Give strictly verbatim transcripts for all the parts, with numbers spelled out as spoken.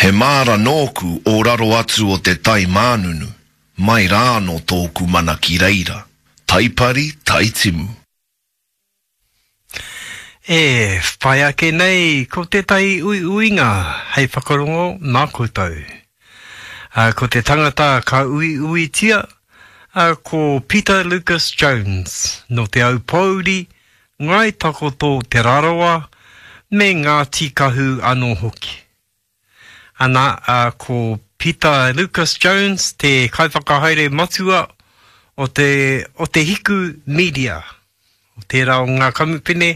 He māra nōku o raro atu o te tai mānunu, mai rānō tōku mana ki reira, taipari, taitimu. E whai ake nei ko tētahi uiuinga hei whakarongo mā koutou. Ā, ko te tangata ka uiuitia, ā, ko Peter Lucas Jones, nō Te Aupōuri, Ngāi Takoto Te Rarawa me Ngāti Kahu anō hoki. Ana, ā, ko Pita Lucas Jones te kaiwhakahaere matua o te, o te Hiku Media, o tērā o ngā kamupene,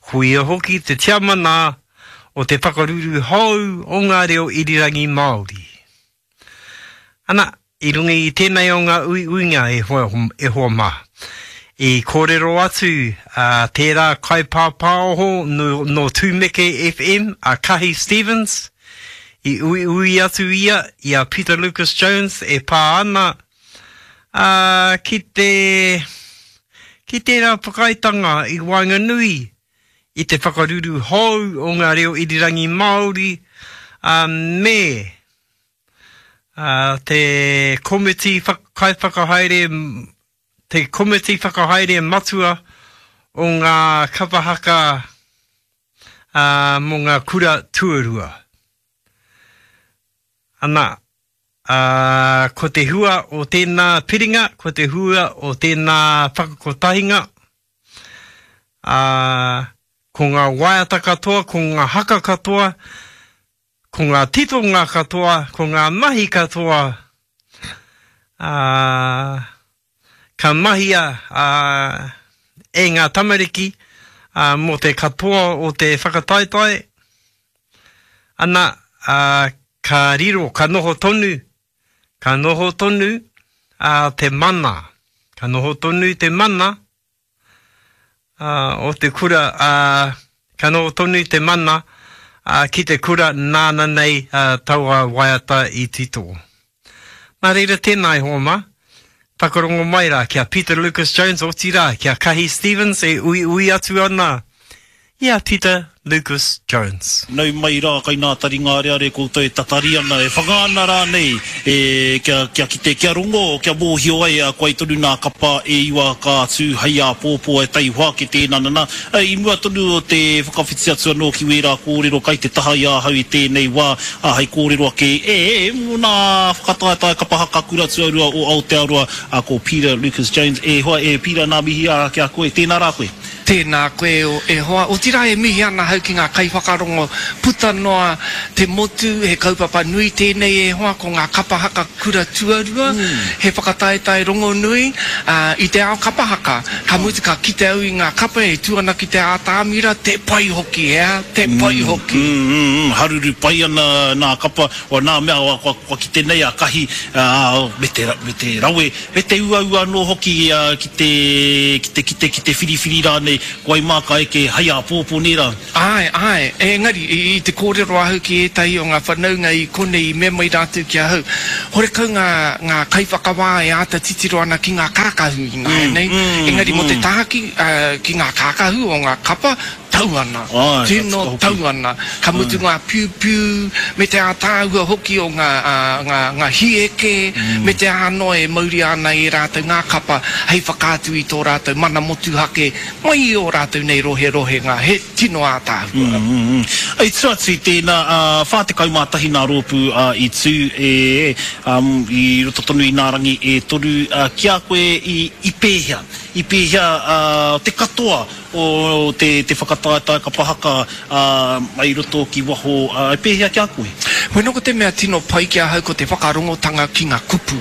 ko ia hoki te tiamana o te whakaruru hou o ngā reo irirangi Māori. Ana, i runga i tēnei o ngā uiuinga e hoa, e hoa mā, i kōrero atu a tērā kaipāpāoho nō, nō Tūmeke FM, a Kahi Stevens, i uiui atu ia i a Peter Lucas Jones e pā ana a, ki te, ki tērā whakaaetanga i waenganui i te whakaruru hou o ngā reo irirangi Māori a, me a, te komiti kaiwhakahaere, te komiti whakahaere matua o ngā kapa haka a, mō ngā kura tuarua. Ana, a, ko te hua o tēnā piringa, ko te hua o tēnā whakakotahinga, a, ko ngā waiata katoa, ko ngā haka katoa, ko ngā titonga katoa, ko ngā mahi katoa, a, ka mahia a, e ngā tamariki a, mō te katoa o te whakataetae, ana, a, ka riro, ka noho tonu, ka noho tonu a, te mana, ka noho tonu te mana a, o te kura, a, ka noho tonu te mana a, ki te kura nāna nei a, taua waiata i tito. Nā reira tēnā e hoa mā, whakarongo mai rā ki a Peter Lucas Jones, otirā ki a Kahi Stevens e uiui atu ana i a Peter Lucas Jones. Nau mai rā kai nā taringa areare koutou e tatari ana, e whanga ana rānei, e, kia, kia kite, kia rongo, kia mōhio ai, a koai tonu nā kapa e iwa ka tū hei āpōpō e taihoa ake tēnā nana. I mua tonu o te whakawhiti atu anō ki wērā kōrero kai te taha i ahau i tēnei wā, ā, hei kōrero ake, e, e, mō nā whakataetae kapa haka kura tuarua o Aotearoa, ā, ko Peter Lucas Jones. E hoa, e Peter, nā mihi ā ki a koe. Tēnā rā koe. Tēnā koe e hoa, otirā e mihi ana ahau ki ngā kaiwhakarongo puta noa te motu, he kaupapa nui tēnei e hoa, ko ngā kapa haka kura tuarua, he whakataetae rongonui i te ao kapa haka, ka mutu ka kite au i ngā kapa e tū ana ki te ātamira, te pai hoki, he aha, te pai hoki. Haruru pai ana nā kapa, nā mea kua kite nei a Kahi me te, me te rawe, Me te uaua anō hoki ki te, ki te kite, ki te whiriwhiri rānei, ko wai mā ka eke hei āpōpō, nē rā? Āe, āe, engari, i te kōrero ahau ki ētahi o ngā whanaunga i konei i mea mai rātou ki ahau, horekau ngā, ngā kaiwhakawā e āta titiro ana ki ngā kākahu ināianei, engari mō te tāki, ki ngā kākahu o ngā kapa, Tau ana, tino tau ana, ka mutu ngā piupiu me te ātaahua hoki o ngā, ngā, ngā hieke me te aha noa e mauria ana e rātou ngā kapa hei whakaatu i tō rātou mana motuhake mai i ō rātou nei roherohenga, he tino ātaahua. I tua atu i tēnā, whā tekau mā tahi nā rōpū i tū e, i roto tonu i nā rangi e toru, ki a koe i, i pēhea, i pēhea te katoa O te te whakataetae kapa haka, ā, mai roto ki waho, ā, e pēhea ki a koe? Bueno ko te mea tino pai ki ahau ko te whakarongotanga ki nga kupu.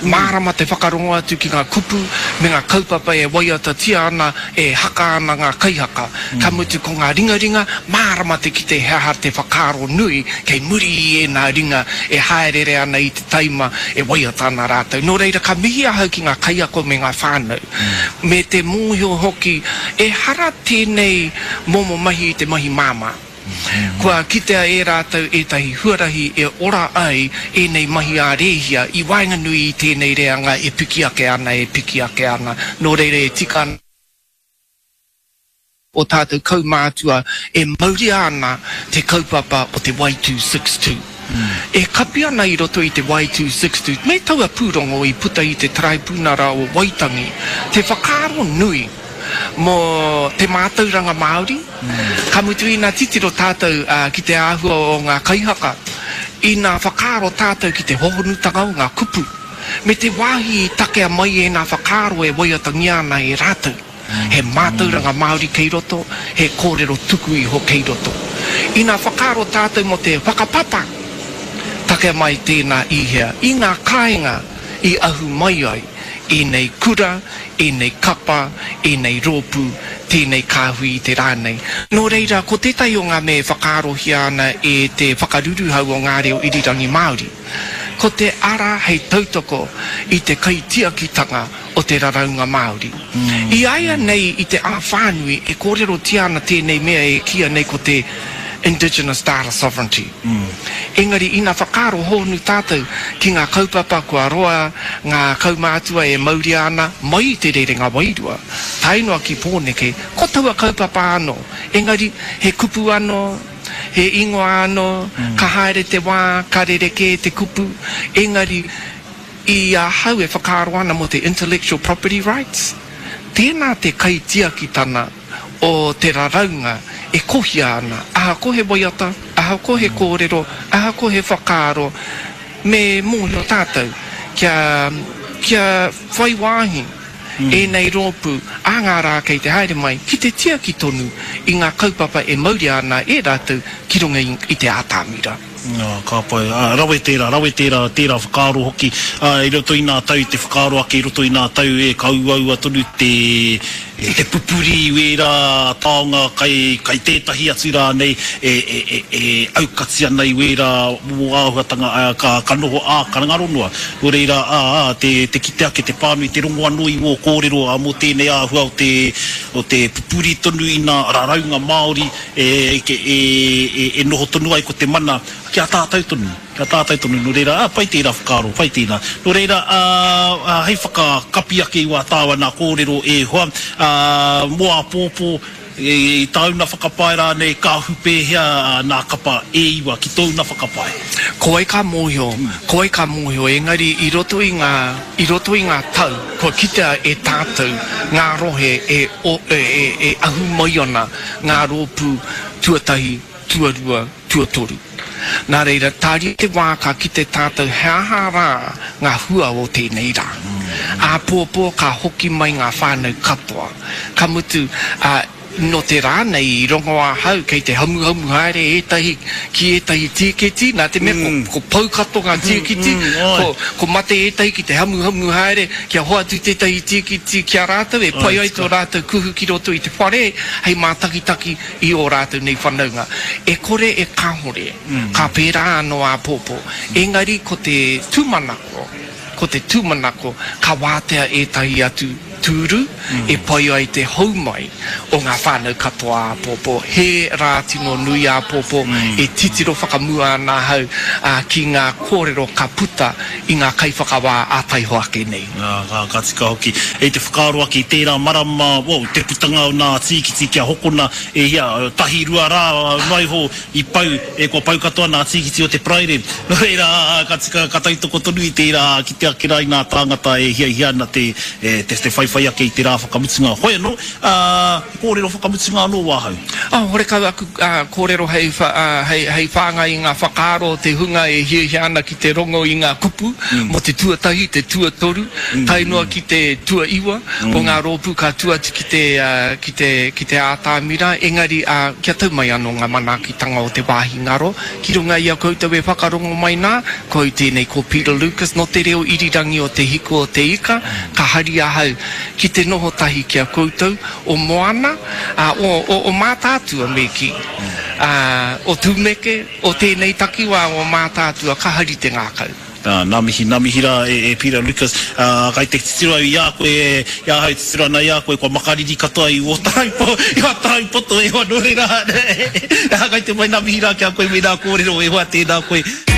Mārama te whakarongo atu ki nga kupu me nga kaupapa e waiatatia ana, e haka ana nga kaihaka. Ka mutu ko nga ringaringa, mārama te kite he aha te whakaaro nui kei muri i ēnā ringa e haereere ana i te taima e waiata ana rātou. Nō reira ka mihi ahau ki nga kaiako me nga whānau. Me te mōhio hoki, ehara tēnei momo mahi i te mahi māmā. Kua kitea e rātou ētahi huarahi e ora ai ēnei mahi ā-rēhia i waenganui i tēnei reanga e piki ake ana, e piki ake ana. Nō reira e tika ana. O tātou kaumātua e mauria ana te kaupapa o te Y two six two. E kapi ana i roto i te Wai two six two, me taua pūrongo i puta i te Taraipunara o Waitangi, te whakaaro nui mō te mātauranga Māori, ka mutu ina titiro tātou ki te āhua o ngā kaihaka, ina whakaaro tātou ki te hohonutanga o ngā kupu, me te wāhi i takea mai ēnā whakaaro e waiatangia ana e rātou. He mātauranga Māori kei roto, he kōrero tuku iho kei roto. Ina whakaaro tātou mō te whakapapa, takea mai tēnā i hea, i ngā kāinga i ahu mai ai ēnei kura, ēnei kapa, ēnei rōpū, tēnei kāhui i te rā nei. Nō reira, ko tētahi o ngā mea e whakaarohia ana e te whakaruruhau o ngā reo irirangi Māori, ko te ara hei tautoko i te kaitiakitanga o te raraunga Māori. I a ia nei i te ao whānui e kōrerotia ana tēnei mea e kīia nei ko te Indigenous Data Sovereignty. Engari ina whakaaro hōhonu tātou ki ngā kaupapa kua roa ngā kaumātua e mauria ana mai i te rerenga wairua tae noa ki Pōneke, ko taua kaupapa anō, engari he kupu anō, he ingoa anō, ka haere te wā, ka rerekē te kupu, engari i ahau e whakaaro ana mō te intellectual property rights, tēnā te kaitiakitana o te raraunga e kohia ana, ahakoa he waiata, ahakoa he kōrero, ahakoa he whakaaro, me mōhio tātou kia, kia whai wāhi ēnei rōpū ā ngā rā kei te haere mai ki te tiaki tonu i ngā kaupapa e mauria ana e rātou ki runga i te ātamira. Ā, ka pai. Ā, rawe tērā, rawe tērā, tērā whakaaro hoki, ā, i roto i nā tau, te whakaaro ake i roto i nā tau, e, ka uaua tonu te, te pupuri i wērā taonga kai, kai tētahi atu rānei e, e, e, e aukati ana i wērā momo āhuatanga, ā, ka, ka noho ā, ka ngaro noa. Nō reira, ā, ā, te, te kite ake, te pānui, te rongo anō i wō kōrero, ā, mō tēnei āhua o te, o te pupuri tonu i nā raraunga Māori, e, e, e, e noho tonu ai ko te mana ki a tātou tonu, ki a tātou tonu. Nō reira, ā, pai tērā whakaaro, pai tēnā. Nō reira, ā, ā, hei whakakapi ake i wā tāua nā kōrero e hoa, ā, mō āpōpō, e, i tāuna whakapae rānei, ka ahu pēhea nā kapa e iwa ki tōuna whakapae? Ko wai ka mōhio, ko wai ka mōhio, engari i roto i ngā, i roto i ngā tau, kua kitea e tātou ngā rohe e, e, e, e ahu mai ana ngā rōpū tuatahi, tuarua, tuatoru. Nā reira, tāria te wā ka kite tātou he aha rā ngā hua o tēnei rā. Āpōpō ka hoki mai ngā whānau katoa. Ka mutu, ā, nō te rā nei i rongo ahau kei te hamuhamu haere ētahi ki ētahi tīketi, nā te mea ko, ko pau katoa ngā tīketi, ko, ko mate ētahi ki te hamuhamu haere kia hoatu tētahi tīketi ki a rātou e pai ai tō rātou kuhu ki roto i te whare hei mātakitaki i ō rātou nei whanaunga. E kore e kāhore, ka pērā anō āpōpō. Engari ko te tūmanako, ko te tūmanako ka wātea ētahi atu tūru e pai ai te hou mai o ngā whānau katoa āpōpō. He rā tino nui āpōpō e titiro whakamua ana ahau ki ngā kōrero ka puta i ngā kaiwhakawā ā taihoa ake nei. Ā, ka, ka tika hoki. E te whakaaro ake i tērā marama, well, te putanga o nā tīkiti kia hokona e hia, tahi rua rā noa iho i pau, e kua pau katoa nā tīkiti o te Paraire. Nō reira, ā, ka tika, ka tautoko tonu i tērā, kite ake rā i nā tāngata e hiahia ana te, e, te, te whaiwhai ake i te rā whakamutunga. Hoi anō, ā, he kōrero whakamutunga anō wāhau. Ā, horekau aku, ā, kōrero hei, ā, hei, hei whāngai i ngā whakaaro o te hunga e hiahia ana ki te rongo i ngā kupu mō te tuatahi, te tuatoru, tae noa ki te tuaiwa o ngā rōpū ka tū atu ki te, ā, ki te, ki te ātamira, engari, ā, kia tau mai anō ngā manaakitanga o te wāhi ngaro ki runga i a koutou e whakarongo mai nā, ko au tēnei ko Peter Lucas nō te reo irirangi o Te Hiku o Te Ika, ka hari ahau ki te noho tahi ki a koutou o Moana, ā, o, o, o Mātaatua me kī, ā, o Tumeke, o tēnei takiwā o Mātaatua, ka hari te ngākau. Ā, nā mihi, nā mihi rā e, e Peter Lucas, ā, kai te titiro au i a koe, i ahau e titiro ana i a koe, kua makariri katoa i ō tarai po, i ō tarai poto e hoa, nō reira, ā, kai te mai nā mihi rā ki a koe me nā kōrero e hoa, tēnā koe.